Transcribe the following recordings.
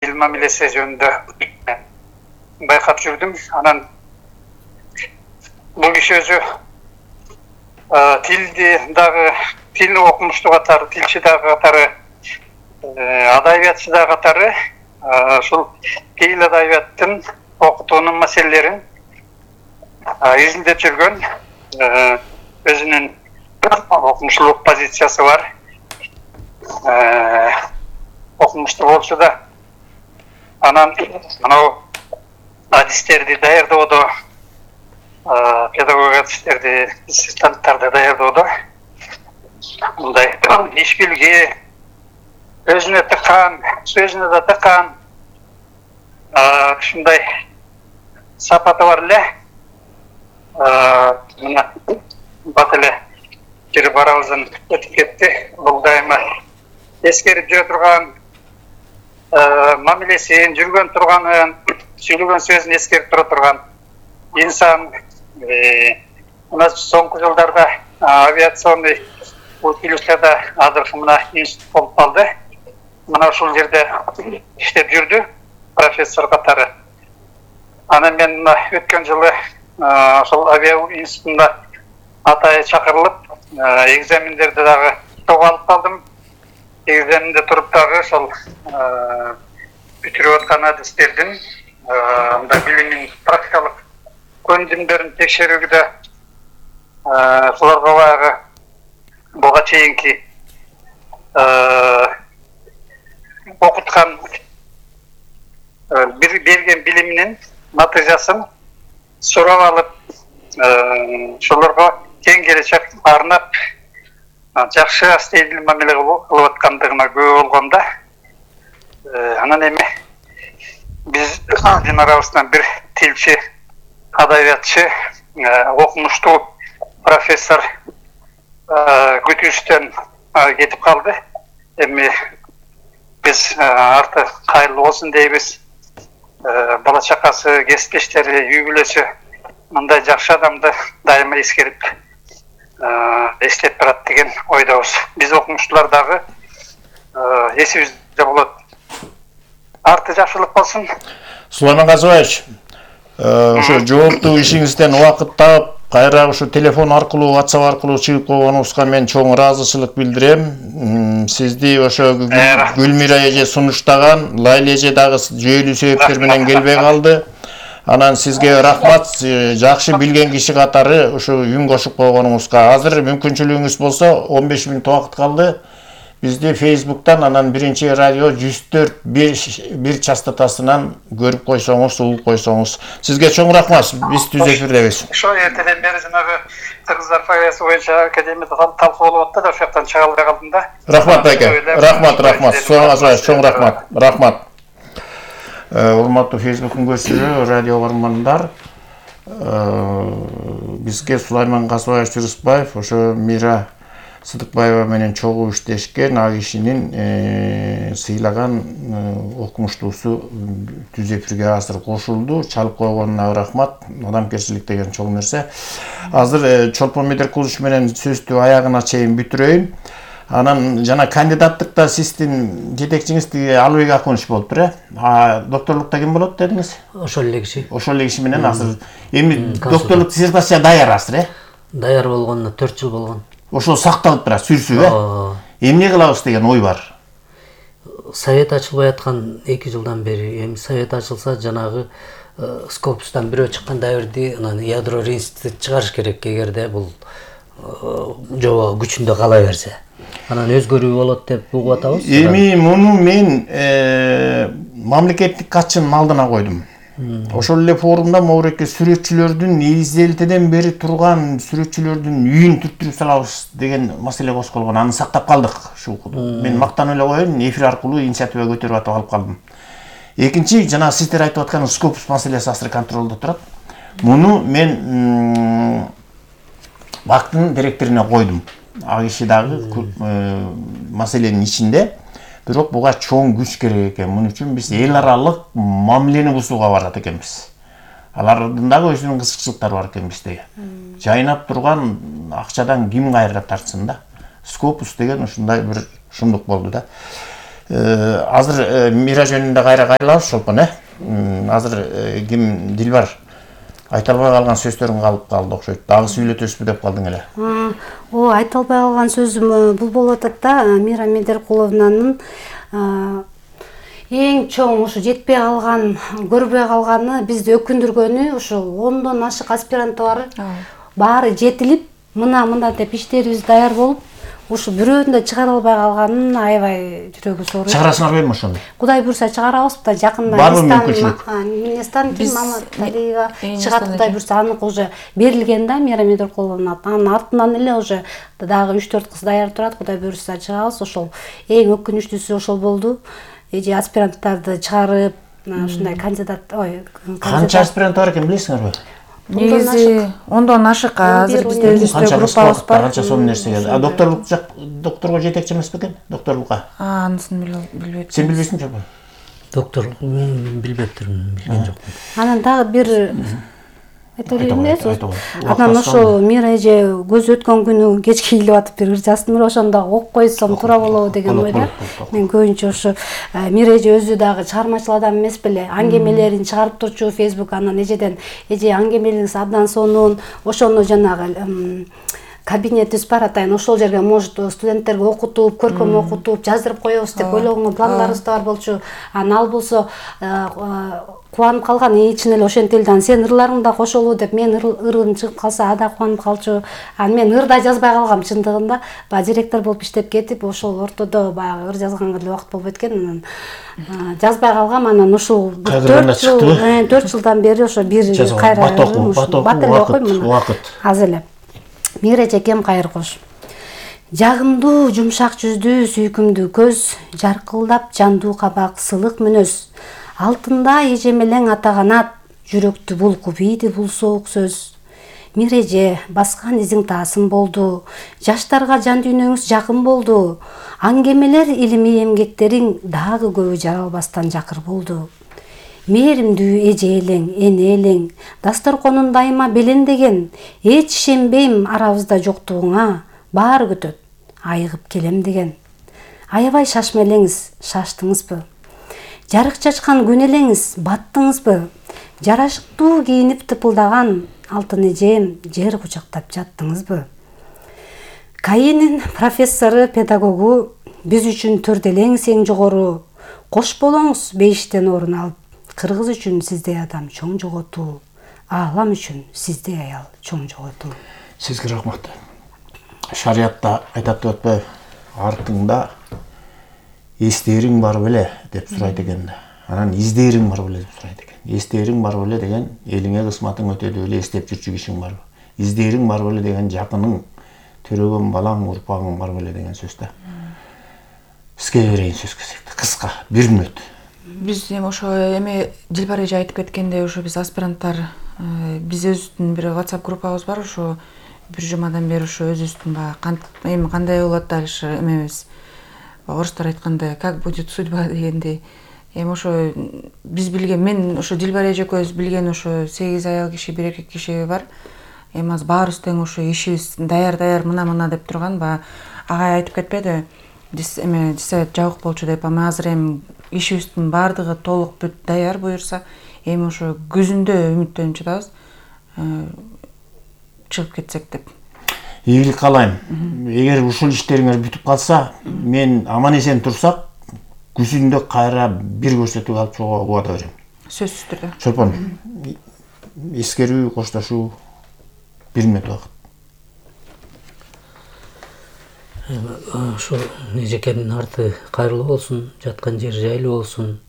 тил мамилеси жөнүндө байкап жүрдүм. Анан бул киши өзү тилди дагы тил окумушту катары, тилчи дагы катары, адабиятчы дагы катары ушул тил адабияттын окутуунун маселелерин изилдеп жүргөн, өзүнүн окумуштуулук позициясы бар. Окумуштуу болчу да. Анан анау адистерди даярдоодо, педагог адистерди, ассистанттарды даярдоодо мындай иш билги, өзүнө тыккан, сөзүнө да тыккан ушундай сапаты бар эле. Мына бат эле кирип барабыздан өтүп кетти. Бул дайыма эскерип жүрө турган, мамилесин, жүргөн турганын, сүйлөгөн сөзүн эскерип тура турган инсан. Мына соңку жылдарда авиационный училищеда азыркы мына институт болуп калды. Мына ушул жерде иштеп жүрдү профессор катары. Анан мен мына өткөн жылы ошол авиа институтунда атайы чакырылып, экзамендерди дагы топ алып калдым. Экзаменде туруп дагы ошол бүтүрүп аткан адистердин мындай билимин, практикалык көндүмдөрүн текшерүүгө буларга баягы буга чейинки окуткан берген билиминин натыйжасын сурап алып, ошолорго тең келечек арнап жакшы астейдил мамиле кылып аткандыгына күбө болгонда, анан эми биздин арабыздан бир тилчи, адабиятчы, окумуштуу профессор күтүүчүдөн кетип калды. Эми биз арты кайырлуу болсун дейбиз. Бала чакасы, кесиптештери, үй бүлөсү мындай жакшы адамды дайыма эскерип эстеп турат деген ойдобуз. Биз окумуштуулар дагы эсибизде болот. Арты жакшылык болсун. Сулайман Казыбаевич, ошо жооптуу ишиңизден убакыт таап, кайра ушу телефон аркылуу, WhatsApp аркылуу чыгып койгонуңузга мен чоң ыраазычылык билдирем. Сизди ошо Гүлмира эже сунуштаган, Лайла эже дагы жүйөлүү себептер менен келбей калды. Анан сизге рахмат, жакшы билген киши катары ушу үн кошуп койгонуңузга. Азыр мүмкүнчүлүгүңүз болсо 15 мүнөт убакыт калды. Бизди Facebook'тан анан биринчи радио 104.1 частотасынан көрүп койсоңуз, угуп койсоңуз. Сизге чоң рахмат. Биз түз эфирдебиз. Ошо эртеден бери жанагы кыргыздар поэзиясы боюнча академияда талкуу болуп атты да, ошол жактан чыга албай калдым да. Рахмат байке. Рахмат. Чоң рахмат. Рахмат. Урматтуу Facebook көрүүчүлөр, радио бармандар. Бизге Сулайман Казыбаевич Жырысбаев, ошо Мира Сыдыкбаева менен чогуу иштешкен, а кишинин сыйлаган окумуштуусу түз эфирге азыр кошулду. Чалып койгонуна рахмат. Адамгерчилик деген чоң нерсе. Азыр Чолпон Медеркулович менен сөздү аягына чейин бүтүрөйүн. Анан жана кандидаттыкта сиздин жетекчиңиз Алыбек Акунович болуптур, докторлукта ким болот дедиңиз? Ошол эле киши. Ошол эле киши менен азыр эми докторлук диссертация даяр азыр, Даяр болгонуна 4 жыл болгон. Ошол сакталып турат, сүрсү, Эмне кылабыз деген ой бар. Совет ачылбай аткан 2 жылдан бери, эми совет ачылса жанагы Скопустан бирөө чыккан дабирди анан ядро институт чыгарыш керек, эгерде бул жобо күчүндө кала берсе. Анан өзгөрүү болот деп угуп атабыз. Эми муну мен мамлекеттик катчынын алдына койдум. Ошол эле форумда могуреке сүрөтчүлөрдүн изделтеден бери турган сүрөтчүлөрдүн үйүн түрттүрүп салабыз деген маселе козголгон. Аны сактап калдык. Мен мактанып эле коеюн, эфир аркылуу инициатива көтөрүп атып алып калдым. Экинчи, жана сиздер айтып аткан Скопус маселеси азыр контролдо турат. Муну мен бактын директоруна койдум. А киши дагы маселенин ичинде. Бирок буга чоң күч керек экен. Мун үчүн биз эл аралык мамилени бузууга барат экенбиз. Алардын дагы өзүнүн кызыкчылыктары бар экен бизде. Жайнап турган акчадан ким кайра тартсын да. Скопус деген ушундай бир шундук болду да. Азыр Мира жөнүндө кайра кайрылабыз Чолпон, Азыр ким Дилбар айта албай калган сөздөрүң калып калды окшойт. Дагы сүйлөтөсүзбү деп калдың эле. Айта албай калган сөзүм бул болуп атат да, Мира Медеркуловнанын эң чоң ушу жетпей калган, көрбөй калганы, бизди өкүндүргөнү ушул 10дон ашык аспиранттар баары жетилип, мына деп иштерибиз даяр болуп, ушу бирөөнү да чыгара албай калганын аябай жүрөгү сооруйт. Чыгарасыңарбы ошону? Кудай буйрса чыгарабыз да, жакында Министан Маматалиева чыгат, Кудай буйрса, аныкы уже берилген да, Мира Медеркуловна. Анын артынан эле уже дагы 3-4 кыз даяр турат, Кудай буйрса чыгабыз. Ошол эң өкүнүчтүүсү ошол болду. Эже аспиранттарды чыгарып, ушундай Канча аспирант бар экен билесиңерби? Негизи 10дон ашык азыр бизде өзүбүздө группабыз бар. Канча сонун нерсе келди. Докторго жетекчи эмеспи экен? Докторлукка. Анысын билбейм. Сен билбейсиңби Чолпон? Доктор билбептирмин, билген жокмун. Анан дагы бир айта берейин да. Анан ошо Мира эже көз өткөн күнү кечке келип атып бир ыр жаздым, ошондо окуп койсом туура болобу деген ойда. Мен көбүнчө ошо Мира эже өзү дагы чыгармачыл адам эмес беле, аңгемелерин чыгарып турчу Facebook, анан эже аңгемелериңиз абдан сонун, ошону жанагы кабинетибиз бар атайын, ошол жерге может студенттерге окутуп, көркөм окутуп, жаздырып коебуз деп ойлогон пландарыбыз да бар болчу. Анан ал болсо кубанып калган, ичинен эле ошентип эле, сен ырларың да кошолу деп, мен ырым чыгып калса ада кубанып калчу. Анан мен ыр да жазбай калгам чындыгында, директор болуп иштеп кетип, ошол ортодо баягы ыр жазганга деле убакыт болбойт экен, анан жазбай калгам. Анан ушул 4 жылдан бери ошо бир кайра бат эле окуйм аз эле. Мира эжекем кайыр кош. Жагымдуу жумшак жүздүү, сүйкүмдүү көз, жаркылдап жандуу кабак, сылык мүнөз. Алтында эжемелең ата канат, жүрөктү булкуп ийди бул соок сөз. Мира эже баскан изиң таасым болду, жаштарга жан дүйнөңүз жакын болду. Аңгемелер илимий эмгектериң дагы көбү жаралбастан жакыр болду. Мээримдүү эже элең, эне элең, дасторконун дайыма белендеген, эч ишенбейм арабызда жоктугуңа, баары күтөт, айыгып келем деген. Аябай шашма элеңиз, шаштыңызбы? Жарык чачкан күн элеңиз, баттыңызбы? Жарашыктуу кийинип тыпылдаган алтын эжем, жер кучактап жаттыңызбы? КАИнин профессору, педагогу, биз үчүн төрделеңиз эң жогору, кош болоңуз бейиштен орун алып. Кыргыз үчүн сиздей адам чоң жоготуу, аалам үчүн сиздей аял чоң жоготуу. Сизге рахмат. Шариатта айтат деп атпайбы, артыңда эстээриң бар беле деп сурайт экен. Анан издээриң бар беле деп сурайт экен. Эстээриң бар беле деген элиңе кысматың өтөдү беле эстеп жүрчү кишиң барбы? Издээриң бар беле деген жакының, төрөгөн балаң, урпагың бар беле деген сөз да. Сизге берейин сөз кезекти. Кыска, 1 мүнөт. Биз ошо Дилбар эже айтып кеткендей, ошо биз аспиранттар, биз өзүбүздүн бир WhatsApp группабыз бар, ошо бир жумадан бери ошо өзүбүздүн кандай болот дальше эмебиз. Орустар айткандай, как будет судьба дегендей. Ошо биз билген, мен ошо Дилбар эже экөөбүз билген ошо 8 аял киши, 1 эркек киши бар. Азыр баарыбыз тең ошо ишибиз даяр мына деп турган, агай айтып кетпеди. Дисовет жабык болчу деп, азыр ишибиздин баардыгы толук бүт даяр буюрса, ошо күзүндө үмүттөнүп жатабыз. Чыгып кетсек деп. Ийгилик каалайм. Эгер ушул иштериңер бүтүп калса, мен аман эсен турсак, күзүндө кайра бир көрсөтүү алып чыгууга убада берем. Сөзсүз түрдө. Чолпон, эскерүү, коштошуу 1 мүнөт убакыт. Ошо эжекемдин арты кайрылуу болсун, жаткан жер жайлуу болсун.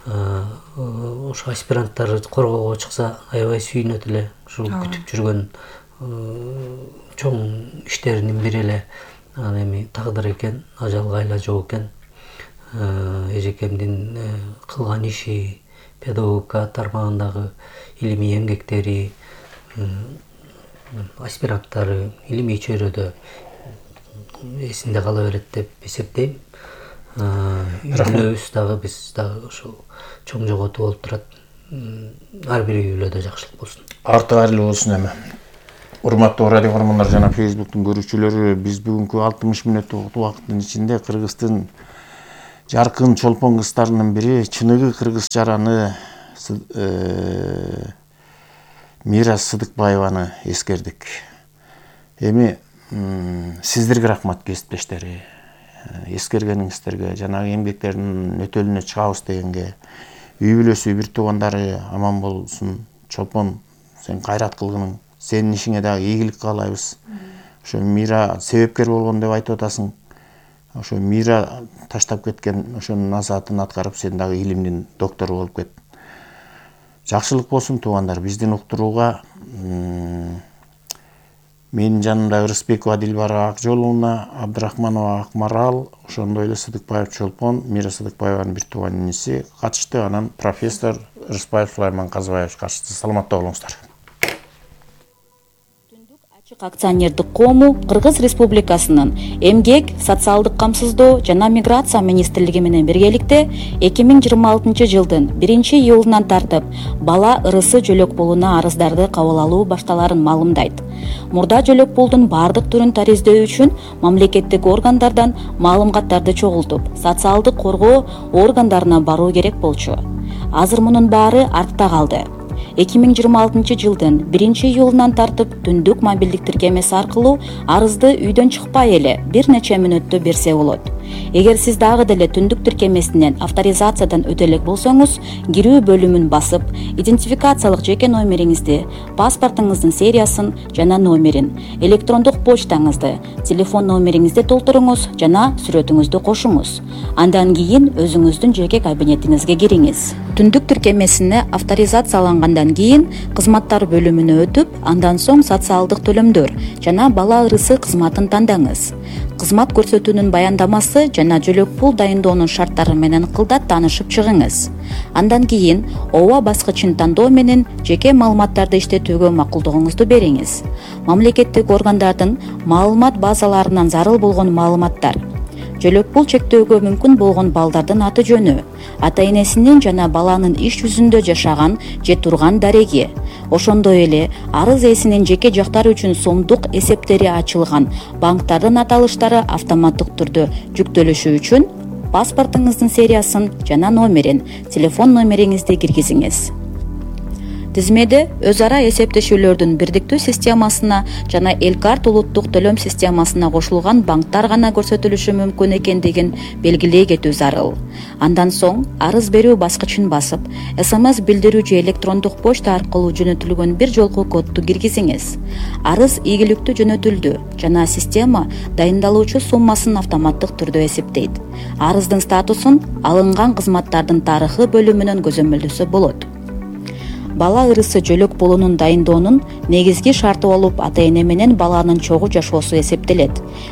Ошо аспиранттар коргоого чыкса аябай сүйүнөт эле. Ушул күтүп жүргөн чоң иштеринин бири эле анан тагдыр экен, ажалга айла жок экен. Эжекемдин кылган иши, педагогика тармагындагы илимий эмгектери, аспиранттары илимий чөйрөдө эсинде кала берет деп эсептейм. Үйлөбүз дагы, биз дагы ошол чоң жоготуу болуп турат. Ар бир үйлөдө жакшылык болсун. Арты кайрылуу болсун эми. Урматтуу радио көрөрмандар жана Facebooktун көрүүчүлөрү, биз бүгүнкү 60 мүнөттүк убакыттын ичинде Кыргыздын жаркын чолпон кыздарынын бири чыныгы кыргыз жараны Мира Сыдыкбаеваны эскердик. Эми сиздерге рахмат кесиптештери. Эскергениңиздерге, жанагы эмгектердин өтөлүнө чыгабыз дегенге, үй бүлөсү, бир туугандары аман болсун. Чолпон, сен кайрат кылгының, сенин ишиңе дагы ийгилик каалайбыз. Ошо Мира себепкер болгон деп айтып атасың. Ошо Мира таштап кеткен ошонун назатын аткарып, сен дагы илимдин доктору болуп кет. Жакшылык болсун туугандар, биздин уктурууга менин жанымда Ырысбекова Дилбара Акжоловна, Абдрахманова Акмарал, ошондой эле Сыдыкбаев Чолпон, Мира Сыдыкбаеванын бир тууган иниси катышты. Анан профессор Ырысбаев Сулайман Казыбаевич катышты. Саламатта болуңуздар. Акционердик коому Кыргыз Республикасынын Эмгек, социалдык камсыздоо жана миграция министрлиги менен биргеликте 2026 жылдын 1-июлунан тартып бала ырысы жөлөк пулуна арыздарды кабыл алуу башталарын маалымдайт. Мурда жөлөк пулдун бардык түрүн тариздөө үчүн мамлекеттик органдардан маалыматтарды чогултуп, социалдык коргоо органдарына баруу керек болчу. Азыр мунун баары артта калды. 2026 жылдын 1-июлунан тартып түндүк мобилдик тиркемеси аркылуу арызды үйдөн чыкпай эле бир нече мүнөттө берсе болот. Эгер сиз дагы деле түндүк тиркемесинен авторизациядан өтө элек болсоңуз, кирүү бөлүмүн басып, идентификациялык жеке номериңизди, паспортуңуздун сериясын жана номерин, электрондук почтаңызды, телефон номериңизди толтуруңуз жана сүрөтүңүздү кошуңуз. Андан кийин өзүңүздүн жеке кабинетиңизге кириңиз. Түндүк тиркемесине авторизациялангандан кийин кызматтар бөлүмүнө өтүп, андан соң социалдык төлөмдөр жана бала ырысы кызматын тандаңыз. Кызмат көрсөтүүнүн баяндамасы жана жөлөк пул дайындоонун шарттары менен кылдат таанышып чыгыңыз. Андан кийин ооба баскычын тандоо менен жеке маалыматтарды иштетүүгө макулдугуңузду бериңиз. Мамлекеттик органдардын маалымат базаларынан зарыл болгон маалыматтар, жөлөк пул чектөөгө мүмкүн болгон балдардын аты жөнү, ата энесинин жана баланын иш жүзүндө жашаган же турган дареги, ошондой эле арыз ээсинин жеке жактары үчүн сомдук эсептери ачылган банктардын аталыштары автоматтык түрдө жүктөлүшү үчүн паспортуңуздун сериясын жана номерин, телефон номериңизди киргизиңиз. Тизмеде өз ара эсептешүүлөрдүн бирдиктүү системасына жана Элкарт улуттук төлөм системасына кошулган банктар гана көрсөтүлүшү мүмкүн экендигин белгилей кетүү зарыл. Андан соң арыз берүү баскычын басып, СМС билдирүү же электрондук почта аркылуу жөнөтүлгөн бир жолку кодду киргизиңиз. Арыз ийгиликтүү жөнөтүлдү жана система дайындалуучу суммасын автоматтык түрдө эсептейт. Арыздын статусун алынган кызматтардын тарыхы бөлүмүнөн көзөмөлдөсө болот. Бала ырысы жөлөк пулунун дайындоонун негизги шарты болуп ата эне менен баланын чогуу жашоосу эсептелет.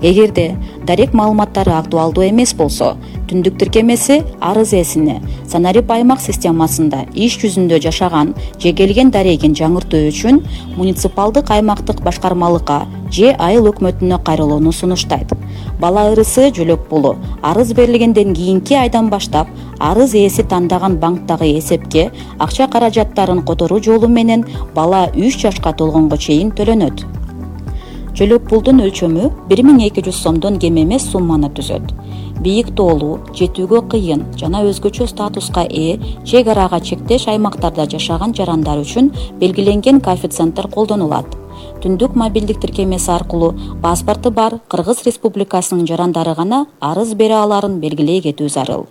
Эгерде дарек маалыматтары актуалдуу эмес болсо, түндүк тиркемеси арыз ээсине санарип аймак системасында иш жүзүндө жашаган же келген дарегин жаңыртуу үчүн муниципалдык аймактык башкармалыкка же айыл өкмөтүнө кайрылууну сунуштайт. Бала ырысы жөлөк пулу арыз берилгенден кийинки айдан баштап арыз ээси тандаган банктагы эсепке акча каражаттарын которуу жолу менен бала 3 жашка толгонго чейин төлөнөт. Жөлөк пулдун өлчөмү 1200 сомдон кем эмес сумманы түзөт. Бийик тоолуу, жетүүгө кыйын жана өзгөчө статуска ээ чек арага чектеш аймактарда жашаган жарандар үчүн белгиленген коэффициенттер колдонулат. Түндүк мобилдик тиркемеси аркылуу паспорту бар Кыргыз Республикасынын жарандары гана арыз бере аларын белгилей кетүү зарыл.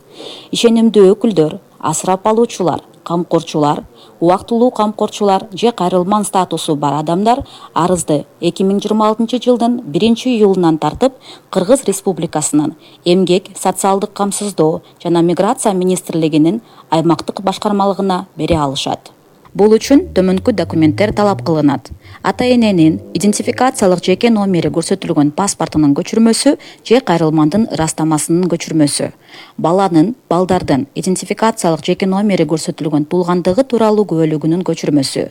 Ишенимдүү өкүлдөр, асырап алуучулар, камкорчулар, убактылуу камкорчулар же кайрылман статусу бар адамдар арызды 2026 жылдын 1-июлунан тартып Кыргыз Республикасынын Эмгек, социалдык камсыздоо жана миграция министрлигинин аймактык башкармалыгына бере алышат. Бул үчүн төмөнкү документтер талап кылынат. Ата эненин идентификациялык жеке номери көрсөтүлгөн паспортунун көчүрмөсү же кайрылмандын ырастамасынын көчүрмөсү. Балдардын идентификациялык жеке номери көрсөтүлгөн туулгандыгы тууралуу күбөлүгүнүн көчүрмөсү.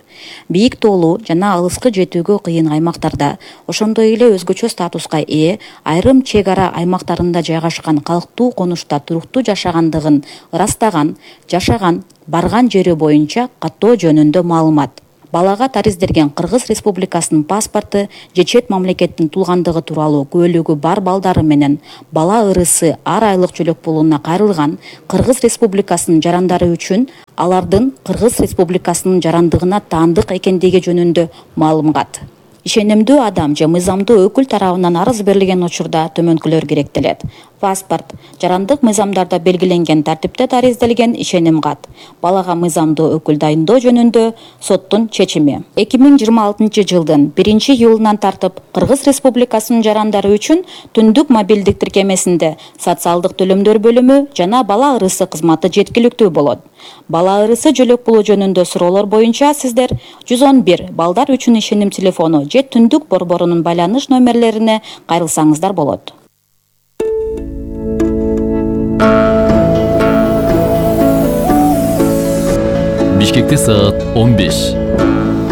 Бийик тоолуу жана алыскы жетүүгө кыйын аймактарда, ошондой эле өзгөчө статуска ээ айрым чек ара аймактарында жайгашкан калктуу конушта туруктуу жашагандыгын ырастаган, жашаган, барган жери боюнча каттоо жөнүндө маалымат. балага тариздерген Кыргыз Республикасынын паспорту же чет мамлекеттин туулгандыгы тууралуу күбөлүгү бар балдары менен бала ырысы ар айлык жөлөк пулуна кайрылган Кыргыз Республикасынын жарандары үчүн алардын Кыргыз Республикасынын жарандыгына таандык экендиги жөнүндө маалымат. Ишенимдүү адам же мыйзамдуу өкүл тарабынан арыз берилген учурда төмөнкүлөр керектелет. Паспорт, жарандык мыйзамдарда белгиленген тартипте тариздалген ишеним кат, балага мыйзамдуу өкүл дайындоо жөнүндө соттун чечими. 2026 жылдын 1-июлунан тартып Кыргыз Республикасынын жарандары үчүн түндүк мобилдик тиркемесинде социалдык төлөмдөр бөлүмү жана бала ырысы кызматы жеткиликтүү болот. Бала ырысы жөлөк пулу жөнүндө суроолор боюнча сиздер 111 балдар үчүн ишеним телефону же түндүк борборунун байланыш номерлерине кайрылсаңыздар болот. Бишкекте саат 15.